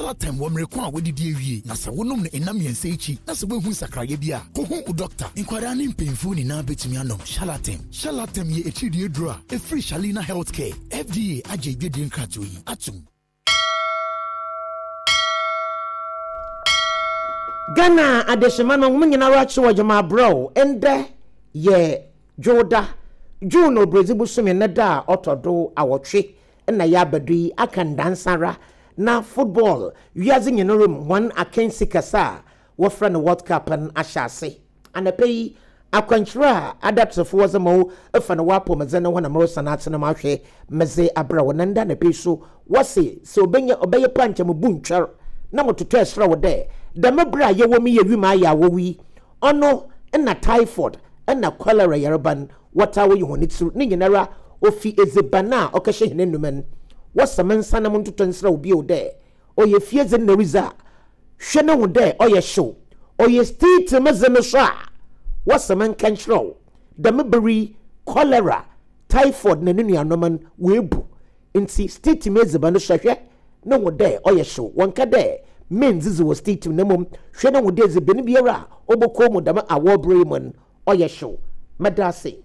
Shalatem wɔ mmere ko a woadidi awie, na sɛ wonom no nna mmiɛnsa akyi na sɛ woanhu nsakraeɛ bi a, kɔhu wo dɔkta. Nkwadaa ne mpanyimfoɔ nyinaa bɛtumi anom Shalatem. Shalatem yɛ atiridii aduro a ɛfiri Shalina Healthcare. FDA agye adwadie nkratoɔ yi atom. Ghana adehyema no hom nyinara kye wɔ dwuma abrɛw. Ndɛ yɛ Dwowda, June Obiradzi bosome ne da a ɔtɔ do awɔtwe na yɛaba do yi, aka ndaansa ara na football wiadze nyinara mu hɔn akansi kɛse a wɔfrɛ no World Cup no ahyɛ ase. Anapa yi, akwankyerɛ a adatsefo wɔdze ma wo fa no w'apɔwmudzen ho na meresan atsen mu ahwɛ medze abrɛ wo. Na ndɛ anapa yi so, wɔse sɛ obenya ɔbɛyɛ paa nkyɛ mubu ntwɛr na mototɔɛ serɛ wo dɛ, dɛm ber a yɛwɔ mu yi a wimu ayɛ awɔw yi, ɔno na typhoid na cholera yarba no wɔtaa woyi hɔn tsir, ne nyinara ofi edziban a ɔkɛhyɛ hɛn enuma no. Wɔse mensan na montotɔ nserɛ wo bio dɛ, ɔyɛ fie dze na eridzi a, hwɛ na hu dɛ ɔyɛ hyew. Ɔyɛ stiitsi me dze no so a, wɔse menka nkyerɛ wo, dɛm ber yi cholera, typhoid na no nuanom no woebu. Ntsi stiitsi m'edziban no so hwɛ na hu dɛ ɔyɛ hyew. Wɔnnka dɛ menndzidzi wɔ stiitsi mu na mbom hwɛ na hu dɛ edziban biara a ɔbɔkɔ mu dɛm awɔw ber yi mu no ɔyɛ hyew. Meda ase.